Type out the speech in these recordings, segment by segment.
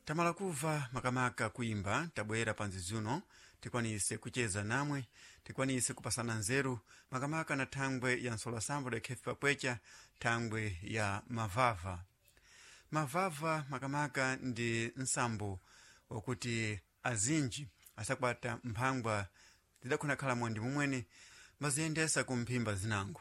Tamala kuva makamaka kuimba tabwera panzi zuno tikwanise kucheza namwe, tikwanise kupasana nzeru makamaka na thangwe ya nsolasambo lekhefe pakwecha, thangwe ya mavava. Mavava makamaka ndi nsambo wakuti azinji asakwata mphangwa zidakhonakhala mwandi mumwene maziyendesa ku mphimba zinango.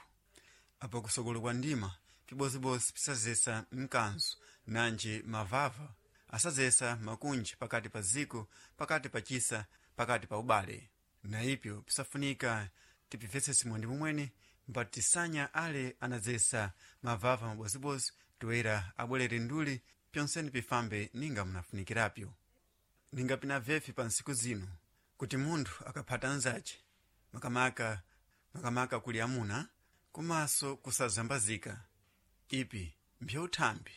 Apo kusokolo kwa ndima pibozibozi pisazesa mkanzo nanji mavava asazesa makunji pakati pa ziko, pakati pa chisa, pakati pa ubale. Na ipyo pisafunika tipivesese mwandi mumwene mbati tisanya ale anazesa mavava mabozibozi toera abwerere nduli pyonseni pifambe ninga munafunikirapyo. Ninga pina vefi pa nsiku zino kuti munthu akaphata nzace makamaka makamaka kuli amuna komanso kusazambazika ipi mpyauthambi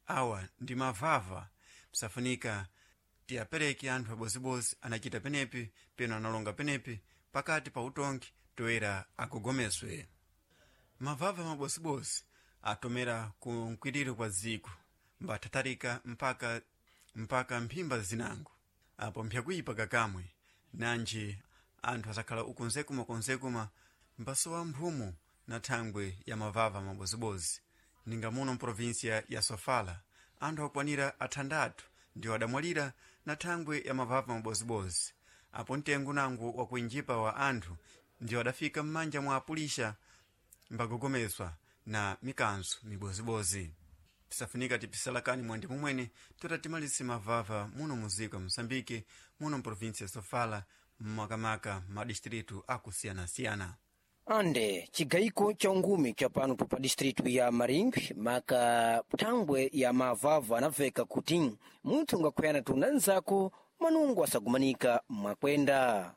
awa ndi mavava pisafunika tiyapereke anthu abozibozi anachita penepi peno analonga penepi pakati pa utongi toera agogomeswe. Mavava mabozibozi atomera ku mkwiriro kwa ziko mbathatharika mpaka mphimba zinango apo mpyakuyipa kakamwe nanji anthu asakhala ukonzekuma mbasowa mphumu na thangwe ya mavava mabozibozi. Ninga muno mprovinsia ya Sofala anthu akwanira athandatu ndiwo adamwalira na thangwe ya mavava mabozibozi. Apo mtengo nango wakuinjipa wa anthu ndiwo adafika m'manja mwa apulisha mbagogomeswa na mikanzo mibozibozi. Pisafunika tipisalakani mwandi mumwene tota timalise mavava muno muziko ya Moçambique, muno mprovinsia ya Sofala, makamaka madistritu akusiyanasiyana. Ande cigayiko ca ungumi ca pano pa distritu ya Maringwi maka thangwe ya mavava anaveka kuti munthu ungakhuyana tu na nzako manungo asagumanika mwakwenda.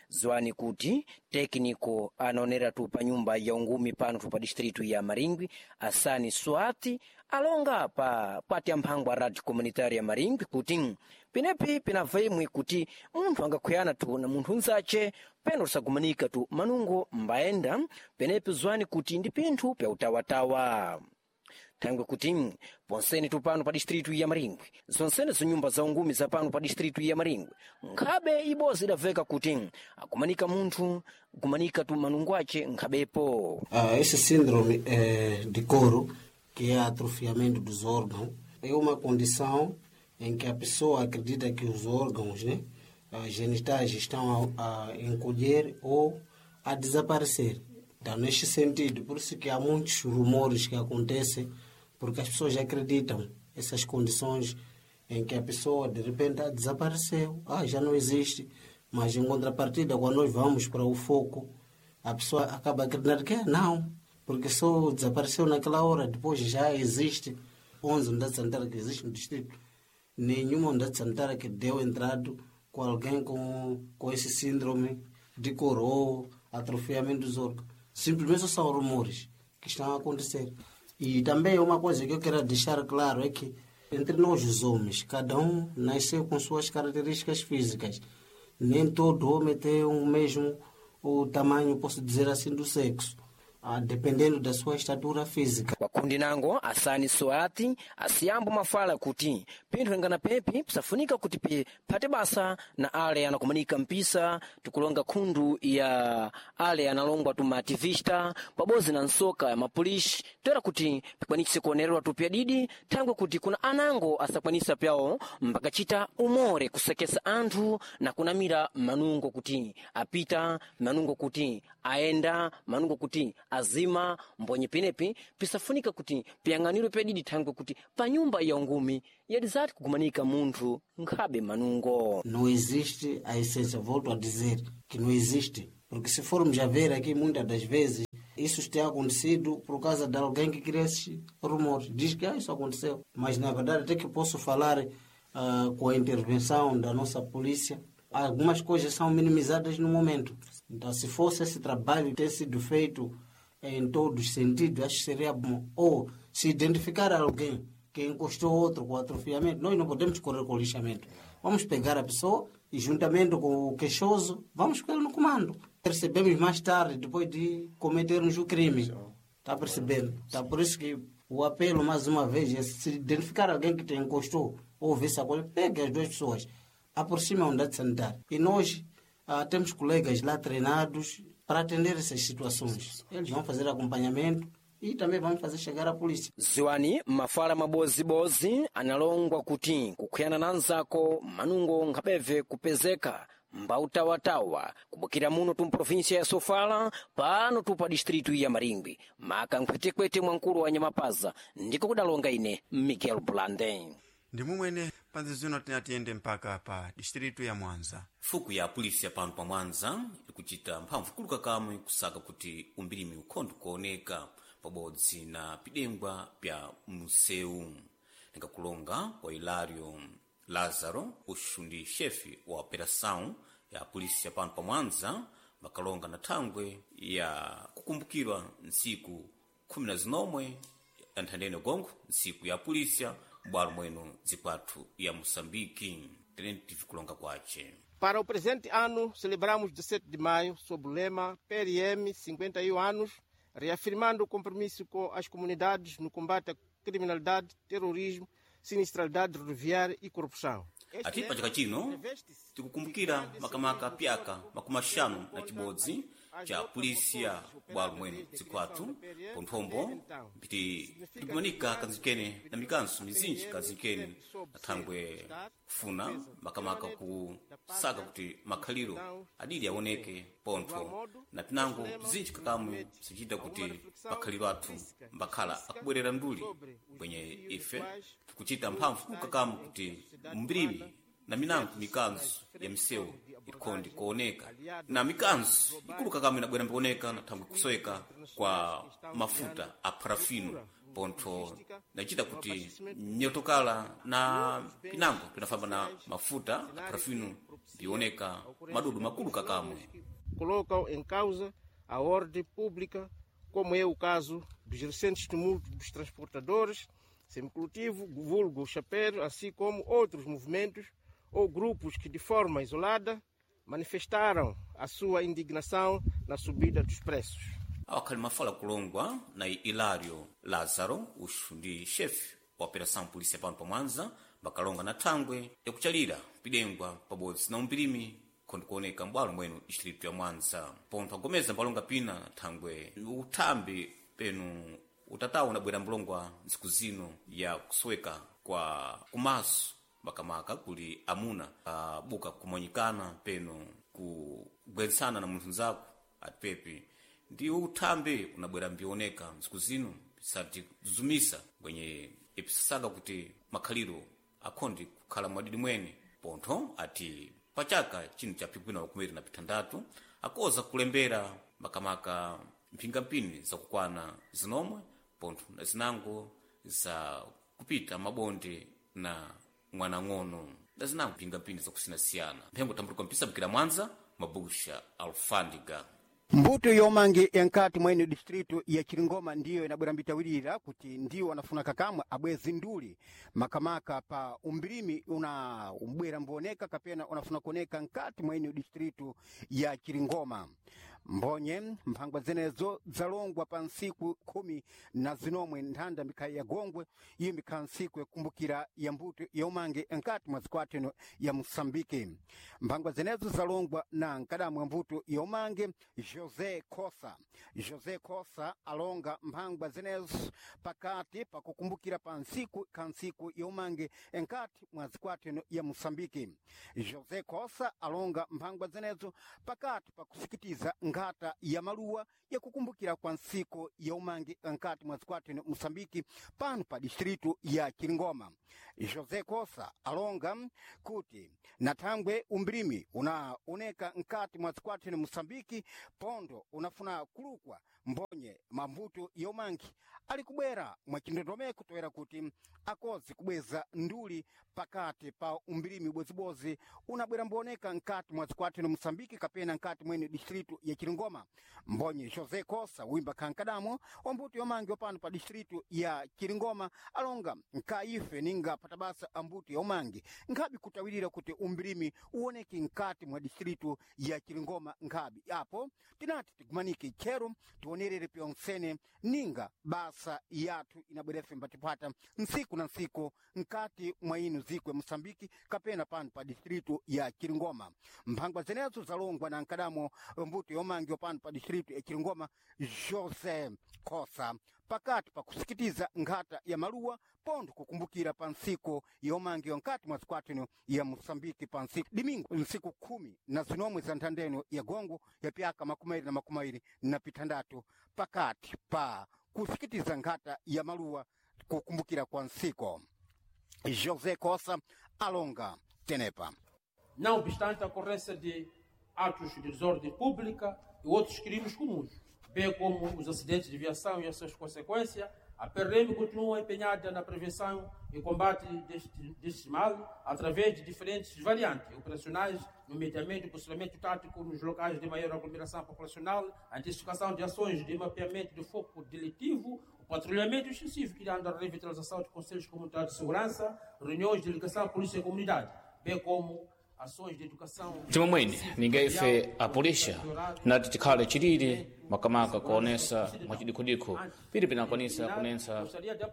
Zwani kuti tekniko anaonera tu pa nyumba ya ungumi pano tu pa distritu ya Maringwi Asani Swati alonga pa pati ya mphangwa radio comunitária ya Maringwi kuti penepi pinabva imwe kuti munthu angakhuyana tu na munthu unzace peno tisagumanika tu manungo mbayenda penepi zwani kuti ndi pinthu pya utawatawa. Thangwe kuti ponsene tupano pa distritu ya Maringwi zonsene zinyumba za ungumi za pano pa distritu ya Maringwi nkhabe ibozi idaveka kuti akumanika munthu kumanika tu manungo ace nkhabepo. Esse síndrome de couro, que é atrofiamento dos órgãos, é uma condição em que a pessoa acredita que os órgãos, né, genitais estão a encolher ou a desaparecer. Então, neste sentido, por isso que há muitos rumores que acontecem, porque as pessoas acreditam essas condições em que a pessoa, de repente, desapareceu, já não existe. Mas, em contrapartida, quando nós vamos para o foco, a pessoa acaba acreditando que não, porque só desapareceu naquela hora, depois já existe. 11 unidades sanitárias que existem no distrito, nenhuma unidade sanitária que deu entrada com alguém com esse síndrome de coroa, atrofiamento dos órgãos. Simplesmente são rumores que estão a acontecer. E também uma coisa que eu quero deixar claro é que entre nós os homens, cada um nasceu com suas características físicas. Nem todo homem tem o mesmo o tamanho, posso dizer assim, do sexo, dependendo da sua estatura física. Wakundi nango Asani Soati asiyambo mafala kuti pinthu ingana pepi pisafunika kuti phate basa na ale anakumanika mpisa tikulonga khundu ya ale analongwa tu maativista pabodzi na nsoka ya mapolisi toera kuti pikwanise kuonererwa tu pyadidi thangwe kuti kuna anango asakwanisa pyawo mbakacita umore kusekesa anthu na kunamira manungo kuti apita, manungo kuti aenda, manungo kuti azima mbonye penepi pisafunika kuti piyang'anirwe pedidi thangwe kuti pa nyumba ya ungumi yadizati kugumanika munthu nkhabe manungo. Não existe a essência, volto a dizer que não existe, porque se formos a ver aqui muitas das vezes isso tem acontecido por causa de alguém que cria esses rumores, diz que isso aconteceu, mas na verdade até que posso falar com a intervenção da nossa polícia, algumas coisas são minimizadas no momento. Então, se fosse esse trabalho ter sido feito em todos os sentidos, acho que seria bom. Ou se identificar alguém que encostou outro com atrofiamento, nós não podemos correr com o lixamento. Vamos pegar a pessoa e, juntamente com o queixoso, vamos com ele no comando. Percebemos mais tarde, depois de cometermos o crime. Está percebendo? Tá por isso que O apelo, mais uma vez, é se identificar alguém que te encostou ou vê sacola, pegue as duas pessoas, aproxime a unidade sanitária. E nós temos colegas lá treinados para atender essas situações. Eles vão fazer acompanhamento e também vão fazer chegar a polícia. Ziwani mafala mabozibozi analongwa kuti kukhuyana na anzako manungo nkhapeve kupezeka mbautawatawa kubukira muno tu mprovinsia ya Sofala pano tu pa distritu ya Maringwi maka nkhwetekwete mwankulu wa Nyamapaza ndiko kudalonga ine Miguel Blanden. Ndi mumwene panzi zino tinatiyende mpaka pa distritu ya Mwanza. Fuku ya polisi ya pano pa Mwanza ikuchita mphamvu kuluka kamwe kusaka kuti umbirimi ukhondo kuoneka pabodzi na pidengwa pya msewu. Nikakulonga kwa Hilario Lazaro, uxu ndi chefe wa operação ya polisi ya pano pa Mwanza, makalonga na thangwe ya kukumbukirwa ntsiku khumi na zinomwe ya nthandeni gongo, ntsiku ya polisia m'bwalo mwenu zikwathu ya Moçambique. Tenente kulonga kwace. Para o presente ano, celebramos 17 de maio sob o lema PRM 51 anos, reafirmando o compromisso com as comunidades no combate à criminalidade, terrorismo, sinistralidade rodoviária e corrupção. Ati pachaka chino tikukumbukira makamaka pyaka makumi axanu na chibodzi cha polisia bwalo mwenu zikwathu ponthombo mpiti tikumanika kanzikene na mikanso mizinji kanzikene na thangwe kufuna makamaka kusaka kuti makhaliro adidi aoneke pontho na pinango bzinji kakamwe bzichita kuti makhaliro athu mbakhala akubwerera nduli kwenye ife tikuchita mphamvu kukakamwe kuti mbirimi na minango mikanzo ya misewu ikhondi kuoneka na mikanzo ikulu kakamwe inabwera mbikuoneka na thangwe kusoweka kwa mafuta a parafino pontho nachita kuti nyotokala na pinango pinafamba na mafuta a parafino bioneka madudu makulu kakamwe. Colocam em causa a ordem pública, como é o caso dos recentes tumultos dos transportadores, semicoletivo, vulgo chapeiro, assim como outros movimentos ou grupos que de forma isolada manifestaram a sua indignação na subida dos preços. Awakhali mafala kulongwa na Hilario Lazaro, uxu ndi chefe wa operação polícia pano pa Mwanza, bakalonga na thangwe yakuchalira pidengwa pabodzi na umpirimi khondi kuoneka m'bwalo mwenu distritu ya Mwanza. Pontho agomeza mbalonga pina na thangwe uthambi penu utatawu unabwera mbulongwa ntsiku zino ya kusoweka kwa kumaso makamaka kuli amuna abuka kumanyikana penu kugwensana na munthu nzako atipepi ndi uthambi unabwera mbioneka ntsiku zino pisati kuzumisa kwenye ipisasaka kuti makhaliro akhondi kukhala mwadidi mwene. Pontho ati pachaka chino cha pikwina makumiri na pithandatu akoza kulembera makamaka mphingampini zakukwana zinomwe pontho na zinango za kupita mabonde na mwanang'ono na zinango mphingampini zakusiyanasiyana. Mphengo tambulika mpisabukira Mwanza, mabusha alfandiga. Mbuto yomange yankati mwene distritu ya Chiringoma ndiyo inabwera mbitawirira kuti ndiwo wanafuna kakamwe abwezi nduli makamaka pa umbirimi una umbwera mboneka kapena unafuna kuoneka nkati mwene distritu ya Chiringoma. Mbonye mphangwa zenezo zalongwa pa nsiku 14 nthanda mikhaya ya Gongwe iyo mikhala nsiku yakumbukira ya mbuto ya umange nkati mwa zikwateno ya Mosambike. Mphangwa zenezo zalongwa na nkadamu wa mbuto ya umange José Kosa. José Kosa alonga mphangwa zenezo pakati pakukumbukira pa nsiku kansiku ya umange nkati mwa zikwateno ya Mosambike. José Kosa alonga mphangwa zenezo pakati pakusikitiza nkhata ya maluwa yakukumbukira kwa nsiku ya umange nkati mwa zikwateno Mosambiki pano pa distritu ya Chiringoma. José Kosa alonga kuti nathangwe umbirimi unaoneka nkati mwa zikwateno Mosambiki pondo unafuna kulukwa mbonye mambuto ya umangi ali kubwera mwachindondomeko toera kuti akozi kubweza nduli pakati pa umbirimi ubozibozi unabwera mboneka nkati mwa zikwateno Mosambiki kapena nkati mwene distritu ya Chiringoma. Mbonye José Kosa wimba kankadamo wambuto yomangi wapano pa distritu ya Chiringoma alonga nkaife ninga patabasa ambuto yomangi nkhabi kutawirira kuti umbirimi uoneke nkati mwa distritu ya Chiringoma nkhabi apo tinati tigumanike tchero tione tionerere pyonsene ninga basa yathu inabwerefe mbatipata nsiku na nsiku nkati mwa inu zikwe Mosambiki kapena pano pa distritu ya Chiringoma. Mphangwa zenezo zalongwa na nkadamo mbuto yomangiwa pano pa distritu ya Chiringoma Jose Khosa pakati pa kusikitiza nkhata ya maluwa pontho kukumbukira pa ntsiku yomangiwa nkati mwa zikwatino ya Mosambiki pa ntsiku dimingo ntsiku 18 za nthandeno ya gongo ya pyaka 2026 pakati pa kusikitiza nkhata ya maluwa kukumbukira kwa ntsiku. José Cossa alonga tenepa. Não obstante a ocorrência de atos de desordem pública e outros crimes comuns, bem como os acidentes de viação e as suas consequências, a PRM continua empenhada na prevenção e combate deste mal através de diferentes variantes operacionais, nomeadamente o posicionamento tático nos locais de maior aglomeração populacional, a intensificação de ações de mapeamento de foco delitivo, o patrulhamento extensivo, criando a revitalização de conselhos comunitários de segurança, reuniões de ligação à polícia e comunidade, bem como ações de educação. Timomwene ningaife a polícia nati tikhale chilili makamaka kuonesa mwachidikhodikho pili pinakwanisa kunensa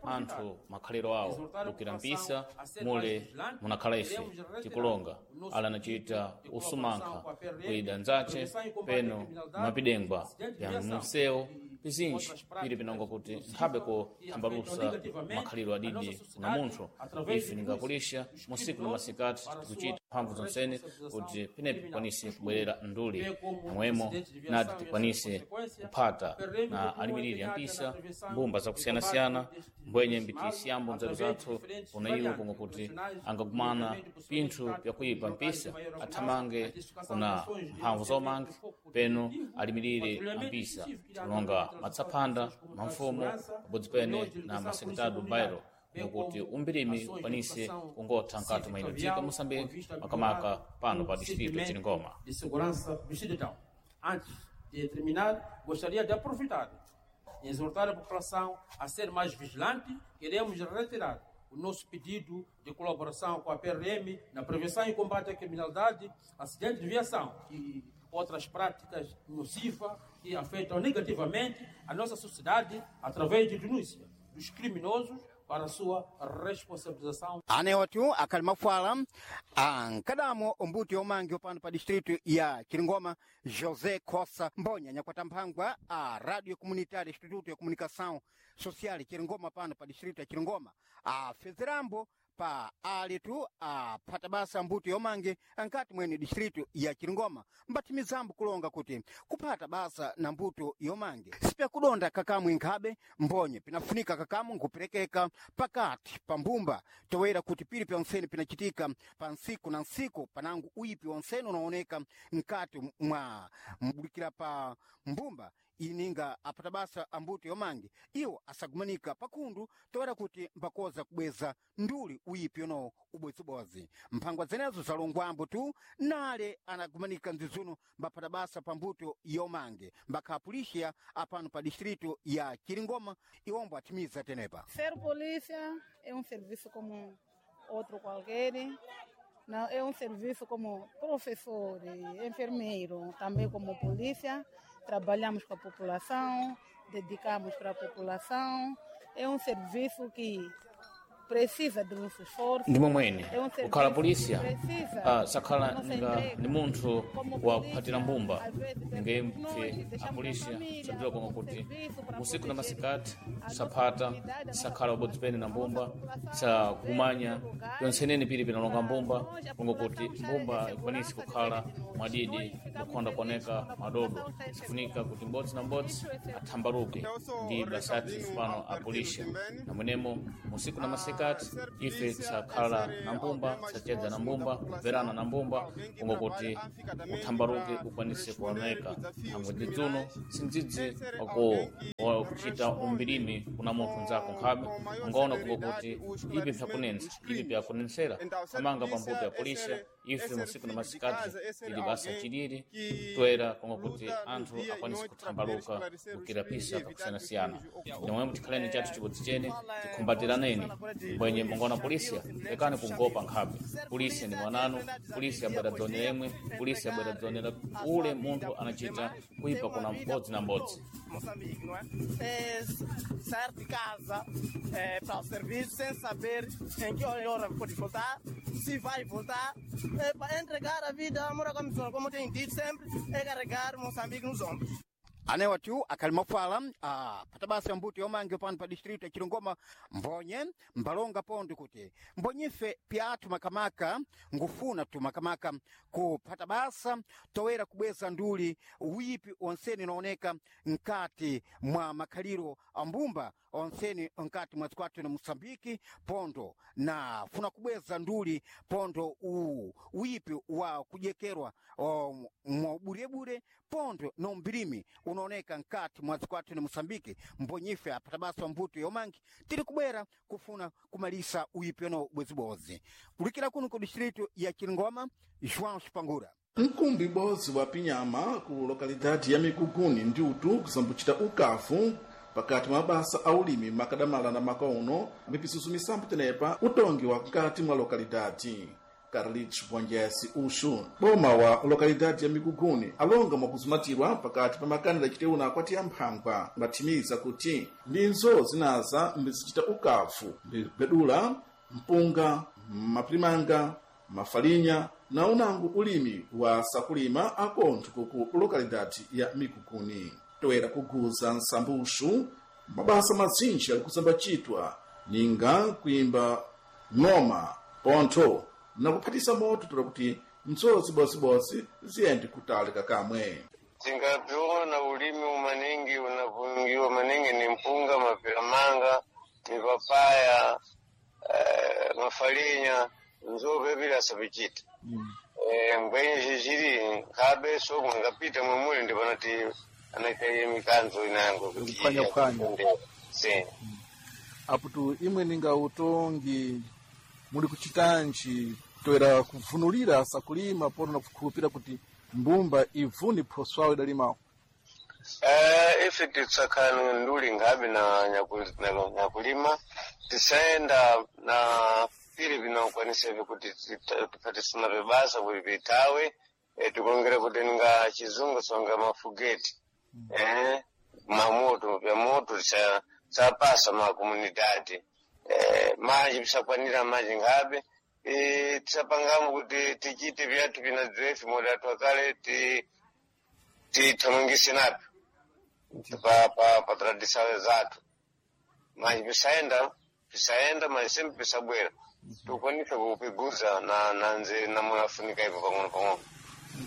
anthu makhaliro awo kukira mpisa mule munakhala ife tikulonga ala anachita usumankha kuida nzache peno mapidengwa ya munsewu pizinji pili pinonga kuti nkhabe kuthambalusa makhaliro adidi kuna munthu ife ningakulisha musiku na masikati tikuchita mphamvu zonsene kuti penepo tikwanise kubwerera nduli momwemo nati tikwanise kuphata na alimiriri ampisa mbumba zakusiyanasiyana mbwenye mbitisiyambo nzeru zathu kuna iwo konga kuti angagumana pinthu pyakuyipa mpisa athamange kuna mphamvu zomange peno alimirire ampisa tikulonga matsaphanda mamfumo pabodzi pene na masekretado bairo ngokuti umbirimi ukwanise kungotha nkati mwa ino dziko Moçambique makamaka pano pa distrito Chiringoma. De segurança do cidadão. Antes de terminar, gostaria de aproveitar e exortar a população a ser mais vigilante. Queremos reiterar o nosso pedido de colaboração com a PRM na prevenção e combate à criminalidade, acidentes de viação e outras práticas nocivas que afetam negativamente a nossa sociedade através de denúncia dos criminosos para a sua responsabilização. Aneotu akhali mafuala ankadamo mbuto yomangiwa pano pa distritu ya Chiringoma José Khosa Mbonya nyakwata mphangwa a Radio Comunitária Instituto ya Comunicação Social Chiringoma pano pa distritu ya Chiringoma afezerambo pa alitu aphata basa mbuto yomange ankati mwene distritu ya Chiringoma mbathimizambo kulonga kuti kuphata basa na mbuto yomange sipyakudonda kakamwe nkhabe mbonye pinafunika kakamu nkuperekeka pakati pa mbumba toera kuti pili pyonsene pinachitika pa nsiku na nsiku panangu uyipi wonsene unaoneka nkati mwa mbulikira pa mbumba ininga aphata basa ambuto yomange iwo asagumanika pakhundu toera kuti mbakoza kubweza nduli uyipi uno ubodzibozi mphangwa zenezo zalongwambo tu nale anagumanika mzizuno mbaphata basa pa mbuto yomange mbakhapulixiya apano pa distrito ya Chiringoma iwombo athimiza tenepa. Ser polícia é um serviço como outro qualquer. Não, é um serviço como professor, enfermeiro, também como polícia. Trabalhamos com a população, dedicamos para a população. É um serviço que precisa do nosso esforço. Ndi momwene É um serviço kukhala polícia que precisa sakhala da nossa nga entrega. ni munthu Como wa polícia, kuphatira mbumba às vezes, ninge nós mpfe deixamos a a polícia família, sabdziwa konga como kuti serviço para usiku na proteger masikati a nossa saphata comunidade, a nossa sakhala ubodzi pene na população, mbumba a nossa população, sakumanya às vezes, yonsenene pili pinalonga mbumba nós, a konga kuti população está mbumba em ikwanise segurança kukhala diante de nós. mwadidi Nós ficamos kukhonda felizes kuoneka quando a madodo população está em sifunika segurança. kuti mbodzi na mbodzi Isso é segurança. athambaluke Eu sou ndi o basati Ricardinho pano a Albertino polícia Timbene. na mwenemo musiku na Ah, masikati ser ife polícia é tisakhala ser na mbumba alguém mais tisachedza na próximo da mbumba população, kuverana na mbumba alguém que konga kuti trabalha afincadamente uthambaluke para ukwanise responder kuoneka os desafios nangwe dzidzuno criminais, sindzidzi é ser wako alguém que wakuchita responde umbirimi kuna munthu nzako nkhabe com maior ungaona kunga celeridade kuti o ipi esclarecimento pyakunensa dos ipi crimes. pyakunensera Então, ser amanga polícia pambuto ya é polícia ser, é ife ser musiku na filho de masikati casa, é ser tili basa alguém chilili que toera konga kuti luta no anthu dia e akwanise noite para poder kuthambaluka esclarecer os kukira crimes e pisa evitar que os kakusiyanasiyana crimes ocorram. nomwemo tikhaleni chathu chibodzi chene tikhumbatiraneni Bwenye mungona polisia lekani kungopa nkhabe. Polisia ni mwananu, polisi abwera dzone yemwe, polisi abwera dzone la ule munthu anachita kuipa kuna mbodzi na mbodzi. Moçambique, não é? É sair de casa para o serviço sem saber em que hora pode voltar, se vai voltar, é para entregar a vida à Moura Comissão, como tenho dito sempre, é carregar Moçambique nos ombros. Anewatu akhali mafala patabasa mbuto yomange pano pa distrito ya Chilungoma mbonye mbalonga pondo kuti mbonyife pyathu makamaka ngufuna tu makamaka kuphata basa toera kubweza nduli uyipi onseni unaoneka nkati mwa makhaliro ambumba onseni nkati mwa zikwathu na Mosambiki pondo na funa kubweza nduli pondo uyipi wa kujekerwa mwa burebure pondo no mbilimi unaoneka nkati mwa zikwathu na Mosambiki mbonyife apatabasa mbuto yomangi tiri kubwera kufuna kumalisa uyipi ono bwezibodzi kulikira kuno ku distrito ya Chilingoma. João Spangura. Nkumbi bodzi wa pinyama ku lokalidade ya Mikuguni ndi utu kusambuchita ukafu pakati mwa mabasa a ulimi makadamala na makauno mipisusu misambu tenepa utongi wa nkati mwa lokalidade. Carlitos Bwanjesi Uxu boma wa lokalidade ya Mikuguni alonga mwakuzumatirwa pakati pa makanela aciteuna akwati ya mphangwa mbathimiza kuti ndinzo zinaza mbizichita ukafu mbigwedula mpunga mapirimanga mafalinya na unangu ulimi wa sakulima akontho kuku lokalidade ya Mikuguni. Toera kuguza nsambuxu mabasa mazinji ali kusambacitwa ninga kuimba ng'oma pontho na kuphatisa moto tola kuti mtsozi bosibose ziyende kutali kakamwe. Tingapiona ulimi umaningi unapungiwa maningi ni mpunga, mapiramanga, mipapaya, mafalinya nzope bila sapichita. Mbwenye ziziri nkhabe so mwangapita mwemuli ndipo anati anaitaye mikanzo inango kuti Kuphwanyaphwanya. Si. Aputu imwe ninga utongi muli kuchitanji toera kuvunulira sakulima pono na kukhulupira kuti mbumba ivuni phoswawo idalimawo. Ife titsakana nduli nkhabe na nyakulima tisaenda na pili vinokwaniseve kuti tiphatisana vibasa kuti vitawe, tikulongera kuti ninga chizungu songa mafugeti, mamoto vyamoto tisapasa ma komunidade, manji pisakwanira manji nkhabe, tisapangamo kuti tichite vyathu vinadziwefe moda twakale tithamangise napyo pa tradição zathu mas pisaenda mas sempre pisabwera tikukwanisa kupiguza na nze namunafunika ipo pang'ono pang'ono.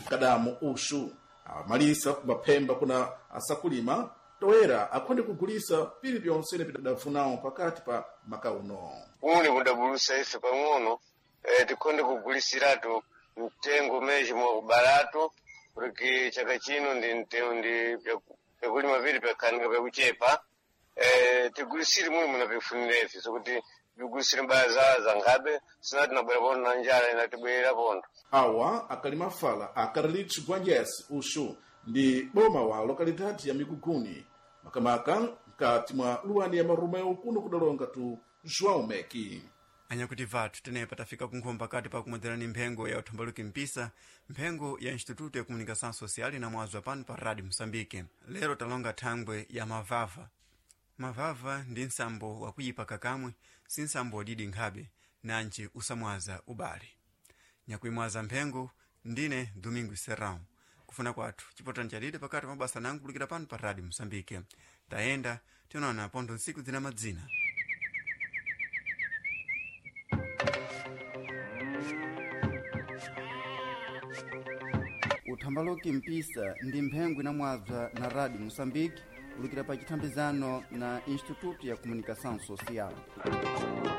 Kadamu Uxu amalisa kumaphemba kuna asakulima toera akhonde kugulisa pili pyonse pidafunawo pakati pa makauno. Kuni kudabulusa ife pang'ono, tikhonde kugulisiratu mtengo meji mwakubalatu porque chaka chino ndi mtengo ndi vyakulima vili vyakhanika vyakuchepa, tigulisire muli munapifunira ife sokuti vigulisire mbaya za nkhabe sinati nabwera pondo na njala inatibwerera pondo. Awa akali mafala a Carlitos Gwanjesi Uxu ndi boma wa lokalidade ya Mikuguni makamaka mkati mwa luwani ya Marumeu kuno kudalonga tu João Meki. Anyakuti vathu tenepa tafika kunkhomba kati pa kumwedzerani mphengo ya uthombaluki mpisa, mphengo ya Instituto ya Comunicação Social inamwazwa pano pa Rádio Moçambique. Lero talonga thangwe ya mavava. Mavava ndi nsambo wakuyipa kakamwe, si nsambo wadidi nkhabe nanji usamwaza ubale. Nyakuimwaza mphengo ndine Domingo Serrão. Kufuna kwathu chipotani chadide pakati pa mabasa nangu kulikira pano pa Rádio Moçambique. Tayenda tionana pontho ntsiku zina madzina. Uthambaloki mpisa ndi mphengo inamwazwa na Rádio Moçambique kulikira pa chithambizano na Instituto ya Comunicação Social.